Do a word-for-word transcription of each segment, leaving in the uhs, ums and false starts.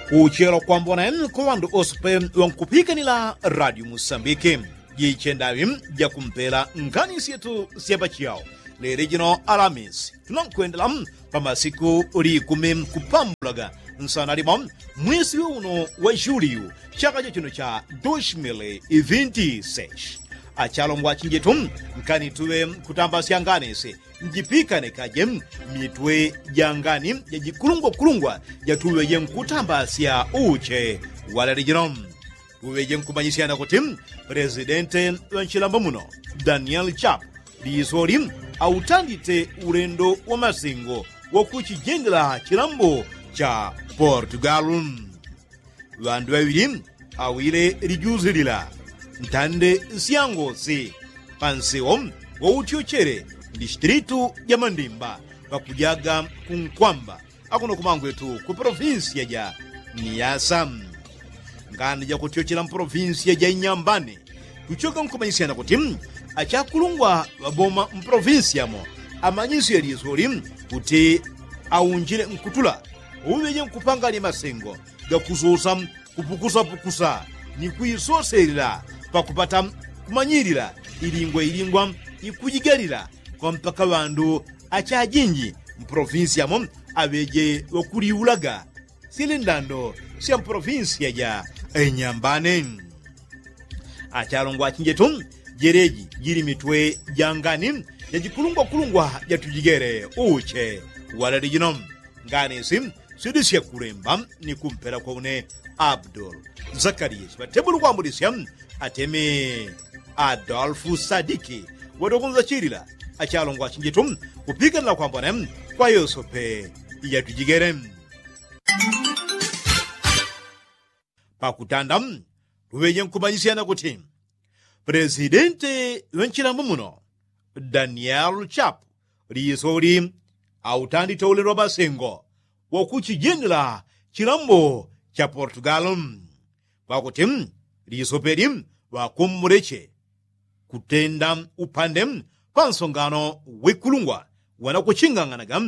Kuchelo kwambona kwa ŵandu ose pe ŵankupikanila radio musambiki, jiche ndaŵi jakumpela ngani syetu sya pachiyao. Lele jino alamisi tunankwendela pa masiku likumi kupambulaga nsana limo mwisi wi uno wa juliyu, chaka cha chino cha dos mil e vinti seis. Achalongwa chinjetu, nkani tuŵe kutambasya ngani si njipikane kaje mitwe ja ngani ja jikulungwakulungwa jatuŵeje nkutambasya uche. Walele jino tuŵeje nkumanyisyana kuti, presidente ŵa nchilambo muno, daniel chap, lisoli autandite ulendo wa masengo wa kuchijendela chilambo cha portugal. Ŵandu ŵaŵili awile lijuzi lila ntande syangosi pansewo wa utyochele mdistilitu ja mandimba pakujaga kunkwamba akuno kumangwetu ku polovinsiya ja niyasa. Ngani jakutyochela mpolovinsiya ja inyambani kuchoka nkumanyisyana kuti achakulungwa ŵaboma mpolovinsiya mo amanyisye lisoli kuti aunjile nkutula uŵeje nkupanganya masengo gakusosa kupukusapukusa ni kuisoselela pakupata kumanyilila ilingwa ilingwa ikujigalila kwa mpaka ŵandu achajinji mpolovinsi yamo aŵeje ŵakuliulaga syele ndando sya mpolovinsi yaja enyambane. Achalongwa achinjetu jeleji jili mitwe jangani jajikulungwakulungwa jatujigele uche walele jino. Ngani si syudisye kulemba ni kumpela kwa une abdul zakariya chiŵatebulu kwambulisya ateme adolfu sadiki ŵadokunza chilila achalongwa achinjetu kupikanila kwambone kwa yosope yatujigele. Pakutanda tuŵeje nkumanyisyana kuti presidente ŵa nchilambo muno daniel chapu lisoli autandite ulendo wa masengo wakuchijendela chilambo cha portugal. Pakuti lisopeli ŵakumbuleche kutenda upande pansongano wikulungwa wanakuchinganganaga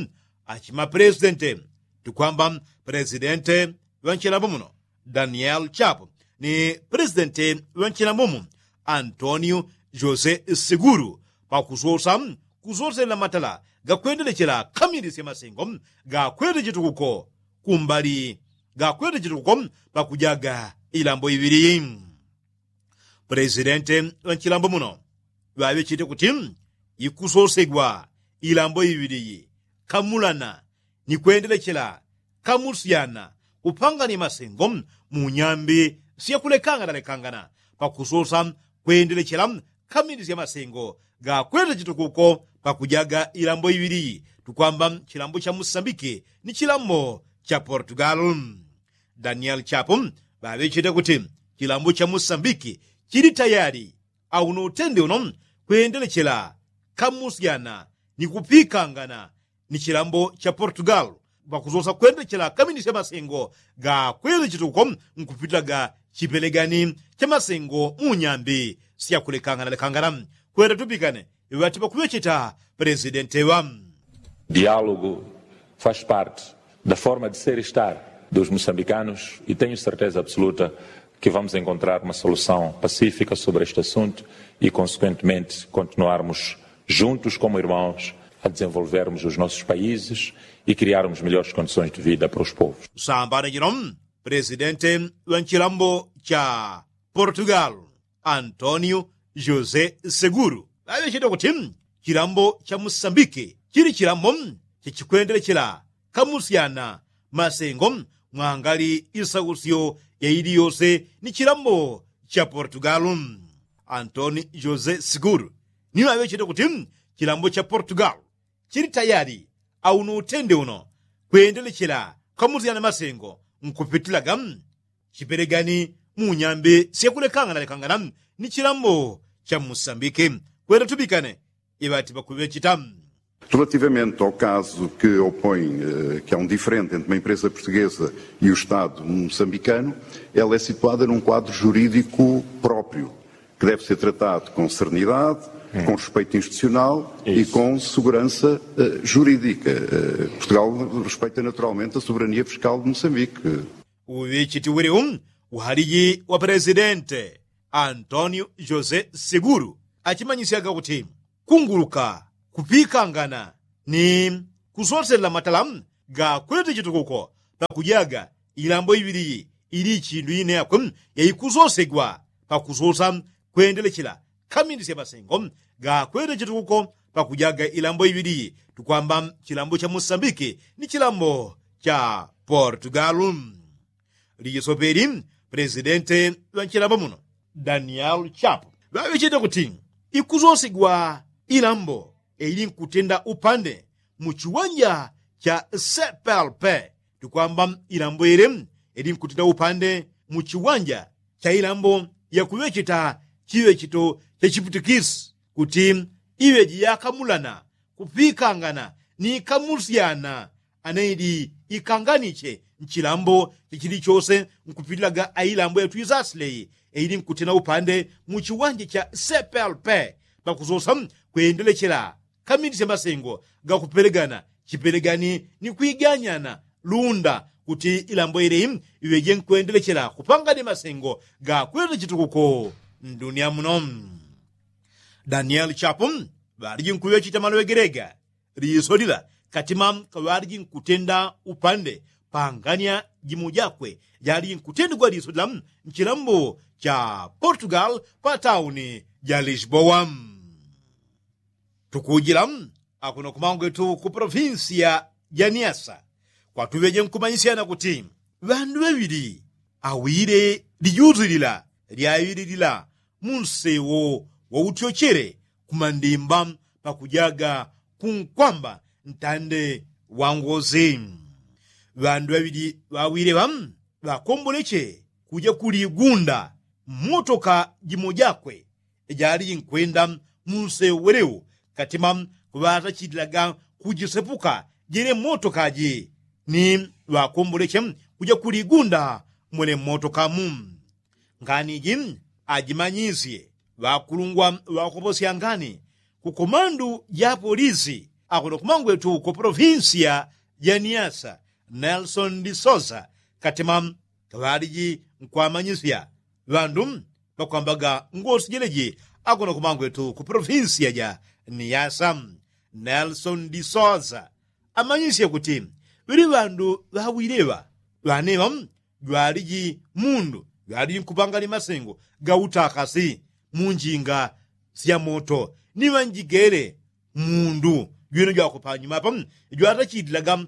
achimapelesidente tukwamba pelesidente ŵa nchilambo muno daniel chapu ni pelesidente ŵa nchilambo mu antonio josé seguru pakusosa kusoselela matala gakwendelechela kamili sya masengo gakwete chitukuko kumbali gakwete chitukuko pakujaga ilambo iŵili. Pulesidente ŵa nchilambo muno ŵaŵechete kuti ikusosegwa ilambo iŵili iyi kamulana ni kwendelechela kamusyana kupangana imasengo mu nyambi syakulekanganalekangana pakusosa kwendelechela kamili sya masengo gakwete chitukuko pakujaga ilambo iŵili iyi tukwamba chilambo cha musambiki ni chilambo cha portugal. Daniel chapo ŵaŵechete kuti chilambo cha musambiki chili tayali auno utende uno kwendelechela kamusyana ni kupikangana ni chilambo cha portugal pakusosa kwendelechela kamili sya masengo gakwete chitukuko nkupitilaga chipelegani cha masengo mu nyambi syakulekanganalekangana. Kwenda tupikane iŵati pakuŵecheta pelesidente ŵa diálogo faz parte da forma de ser e estar dos moçambicanos e tenho certeza absoluta que vamos encontrar uma solução pacífica sobre este assunto e consequentemente continuarmos juntos como irmãos a desenvolvermos os nossos países e criarmos melhores condições de vida para os povos. Sambana jino pelesidente ŵa nchilambo cha portugal antonio josé seguru ŵaŵechete kuti chilambo cha musambiki chili chilambo chachikwendelechela kamusyana masengo mwangali isausyo yaili yose ni chilambo cha portugal. Antonio josé seguru ni ŵaŵechete kuti chilambo cha portugal chili tayali auno utende uno kwendelechela kamusyana masengo nkupitilaga chipelegani mu nyambi syakulekanganalekangana ni chilambo cha musambiki. Kwenda tupikane iŵati pakuŵecheta. Relativamente ao caso que opõe que é um diferente entre uma empresa portuguesa e o estado moçambicano, ela é situada num quadro jurídico próprio que deve ser tratado com serenidade, com respeito institucional e com segurança jurídica. Portugal respeita naturalmente a soberania fiscal de moçambique. Uŵechiti wili u uhaliji wa presidente antonio josé seguru achimanyisyaga kuti kunguluka kupikangana ni kusoselela matala ga kwete chitukuko pakujaga ilambo iŵili iyi ili ichindu ine yakwe yaikusosegwa pakusosa kwendelechela kamindisya masengo ga kwete chitukuko pakujaga ilambo iŵili iyi tukwamba chilambo cha mosambiki ni chilambo cha portugalu. Lijisope ili presidente ŵa nchilambo muno daniel chapo ŵaŵechete kuti ikusosigwa ilambo ili nkutenda upande mu chiwanja cha cplp tukwamba ilambo ili ili nkutenda upande mu chiwanja cha ilambo yakuŵecheta chiŵechito cha chiputikisi kuti iŵeji yakamulana kupikangana ni kamusyana anaidi ikanganiche nchilambo chichili chose nkupitilaga ailambo yatwisasileyi eili nkutena upande mu chiwanja cha cplp pakusosa kwendelechela kamindisya masengo gakupelegana chipelegani ni kwiganyana lunda kuti ilambo ileyi iŵeje nkwendelechela kupangani masengo gakwete chitukuko ndunia muno. Danieli chapu ŵaliji nkuŵechita maloŵegelega liso lila katima kaŵaliji nkutenda upande pangania jimo jakwe jaliji nkutendigwa liso lila nchilambo cha portugal pa tauni ja lisboa. Tukujila akuno kumangwetu ku polofinsiya ja niasa kwatuŵeje nkumanyisyana kuti ŵandu ŵaŵili awile lijusi lila lyaŵililila mu nsewo wa utyochele ku mandimba pakujaga kunkwamba ntande wa ngosi. Ŵandu ŵaŵili ŵawile ŵa ŵakomboleche kuja ku ligunda mmotoka jimo jakwe jaliji nkwenda mu nsewo welewo katima ŵatachitilaga kujisepuka jele mmotoka ji ni ŵakomboleche kuja ku ligunda mwele mmotoka mu. Ngani ji ajimanyisye ŵakulungwa ŵakoposya ngani ku komandu ja polisi akuno kumangwetu ku polofinsiya ja niasa nelson disosa katima kaŵaliji nkwamanyisya ŵandu pakwambaga ngosi jeleji akuno kumangwetu ku polofinsiya ja niasa. Nelson disosa amanyisye kuti ŵili ŵandu ŵawileŵa ŵaneŵa jwaliji mundu jwaliji nkupangani masengo ga utakasi mu njinga sya moto ni ŵanjigele mundu jwino jwakupanyuma apa jwatachitilaga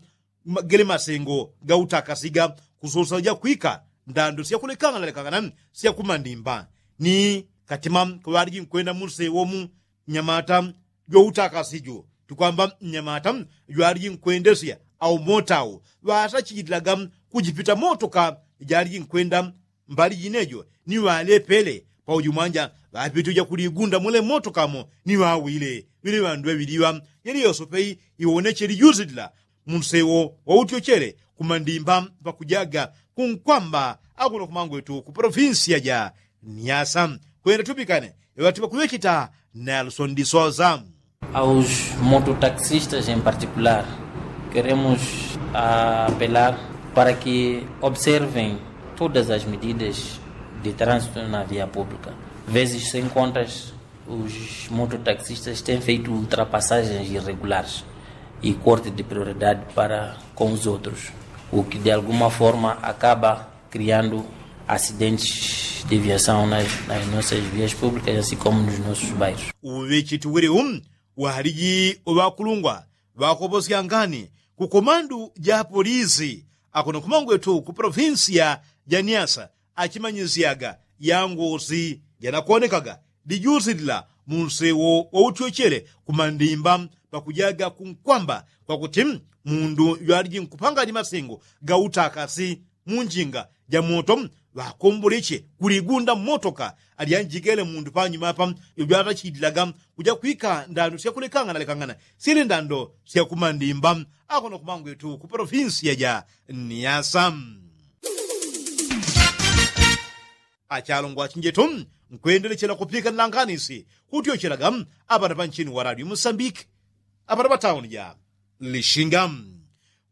gele masengo ga utakasi ga kusosa jakwika ndando syakulekangana lekangana syakumandimba ni katima kaŵaliji nkwenda mu nsewo mu nyamata jwautakasi ju tukwamba nyamata jwaliji nkwendesya au motau ŵatachitilaga kujipita motoka jaliji nkwenda mbali jinejo ni ŵalepele pauju mwanja ŵapite uja ku ligunda mule motoka mo ni ŵawile ŵili ŵandu ŵaŵili ŵa yeli yosope iwoneche lijusi lila mu nsewo wa utyochele ku mandimba pakujaga kunkwamba akuno kumangwetu ku polofinsiya ja niasa. Kwenda tupikane ŵati ŵakuŵechita nelson disosa. Aos mototaxistas em particular queremos apelar para que observem todas as medidas de trânsito na via pública. Vezes sem contas os mototaxistas têm feito ultrapassagens irregulares e corte de prioridade para com os outros, o que de alguma forma acaba criando acidentes de viação nas nossas vias públicas assim como nos nossos bairros. Uŵechiti wili u waliji uŵakulungwa ŵakoposya ngani ku komandu ja polisi akuno kumangwetu ku polofinsiya ja niasa achimanyisyaga yangosi janakonekaga lijusi lila mu nsewo wa utyochele ku mandimba pakujaga kunkwamba kwakuti mundu jwaliji nkupangani masengo ga utakasi mu njinga ja moto ŵakomboleche ku ligunda mmotoka alyanjikele mundu panyuma apa jwatachitilaga kuja kwika ndando syakulekangana lekangana syele ndando syakumandimba akuno kumangwetu ku polofinsiya ja niasa. Achalongwa achinjetu nkwendelechela kupikanila nganisi kutyochelaga apana panchini wa radio musambiki apana patauni ja lishinga.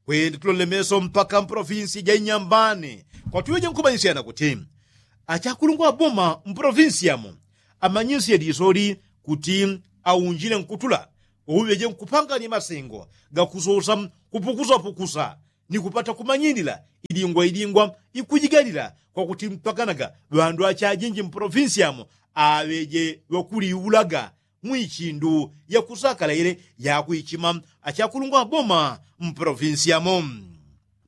Kwende tulole meso mpaka mpolofinsiya ja inyambani. Kwatuŵeje nkumanyisyana kuti achakulungwa boma mpolofinsiya mo amanyisye lisoli kuti aunjile nkutula wauŵeje nkupanganya masengo gakusosa kupukusapukusa ni kupata kumanyilila ilingwa ilingwa ikujigalila kwakuti mpakanaga ŵandu achajinji mpolofinsiya mo aŵeje ŵakuliulaga mwi chindu yakusakala ile yakwichima achakulungwa boma mpolofinsiya mo.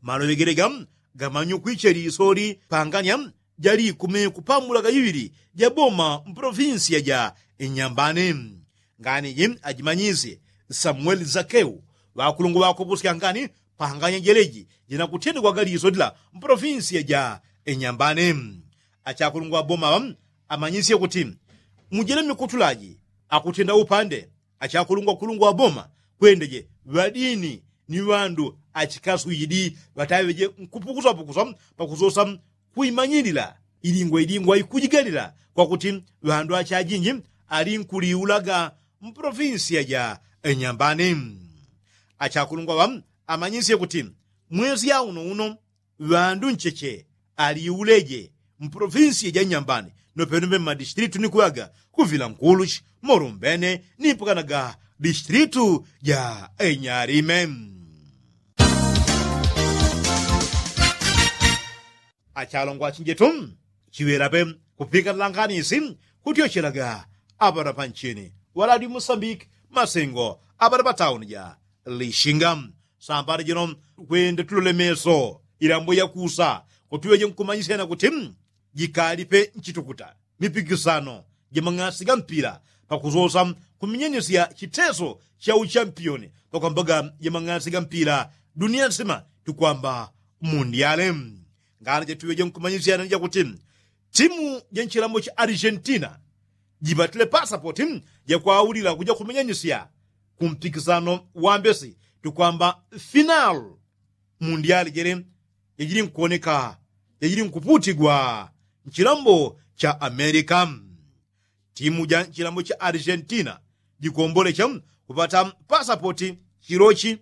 Maloŵegelega gamanyukwiche lisoli panganya ja likumi kupamulaga iŵili ja boma mpolofinsiya ja inyambani. Ngani ji ajimanyisye samueli zakeu ŵakulungwa ŵakopusya ngani panganya jeleji jinakutyendegwaga lisoli la mpolofinsiya ja inyambani. Achakulungwa boma amanyisye kuti mujele mikutulaji akutyenda upande achakulungwa kulungwa boma kwendeje ŵadini ni ŵandu achikaswidi ŵataŵeje nkupukusapukusa pakusosa kuimanyilila ilingwa ilingwa ikujigalila kwakuti ŵandu achajinji alinkuliulaga mpolofinsiya ja inyambani. Achakulungwa ŵa amanyisye kuti mwesi ya uno uno ŵandu ncheche aliuleje mpolofinsiya ja nyambani nopenope mmadistilitu nikuŵaga kuvila nkuluchi molumbene nipukanaga distilitu ja enyalime. Achalongwa achinjetu chiŵelape kupikanila nganisi kutyochelaga aŵana panchini ŵaladi musambiki masengo aŵana patauni ja lishinga. Sambala jino kwende tulole meso ilambo yakusa kuti ŵeje nkumanyisyana kuti jikalipe nchitukuta mipikisano ja mang'asi ga mpila pakusosa kuminyenyesya chiteso cha uchampiyoni pakwambaga ja mang'asi ga mpila duniya nsima tukwamba mundiale. Ngana jatuŵeje nkumanyisyana ni jakuti timu ja nchilambo cha argentina jipatile pasapoti jakwaulila kuja kuminyenyesya kumpikisano wambesi tukwamba final mundiali jele jajili nkuwoneka jajili nkuputigwa nchilambo cha amerika. Timu ja nchilambo cha argentina jikombolecha kupata pasapoti chilochi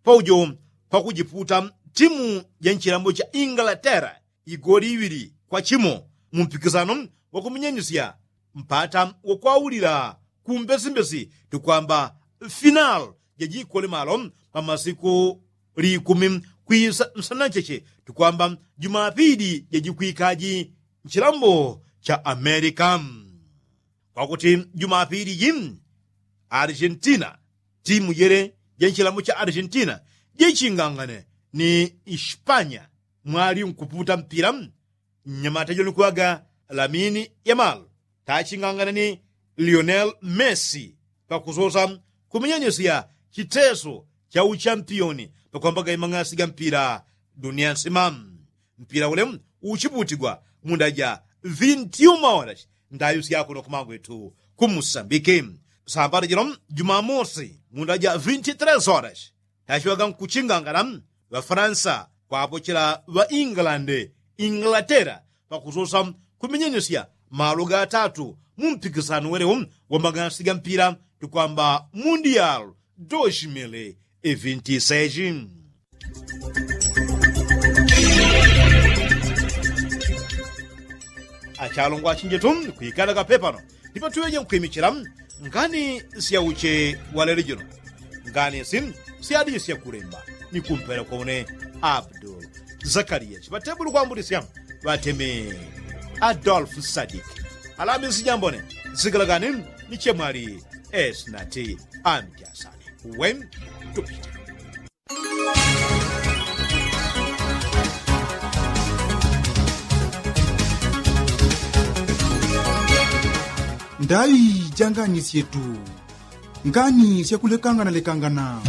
paujo pakujiputa timu ja nchilambo cha inglatera igoli iŵili kwa chimo mumpikisano wakuminyenyesya mpata wakwaulila kumbesimbesi tukwamba final jajikole malo pamasiku likumi kwisa nsana ncheche tukwamba jumapili jajikwikaji nchilambo cha amerika. Kwakuti jumapili ji argentina timu jele ja nchilambo cha argentina jichingangane ni ispanya mwali nkuputa mpila mnyamata joni kuŵaga lamini yamal tachingangana ni lionel messi pakusosa kuminyenyesya chiteso cha uchampiyoni pakwambaga imang'asi ga mpila duniya nsima. Mpila ule uchiputigwa munda ja vinti uma horas ndayo syakuno kumangwetu kumusambiki. Sambala jino jumamosi munda ja vinti tres horas tachiŵaga nkuchingangala ŵafaransa kwapochela ŵa ingilande inglatera pakusosa kuminyenyesya malo gatatu mumpikisano welewo wa magasi ga mpila tukwamba mundial dos mil e vinti seis. Achalongwa achinjetu kwikalaga pepano ndipo tuŵeje nkwimichila ngani syauche walele jino ngani si syadisya kulemba ni kumpelekwa une abdul zakaliya chiŵatebuli kwambulisya ŵateme adolfu sadik alamisi jambone zigalagani ni chemwali esnati amjasani wen tupite. Ndayi janganisyetu ngani syakulekanganalekangana.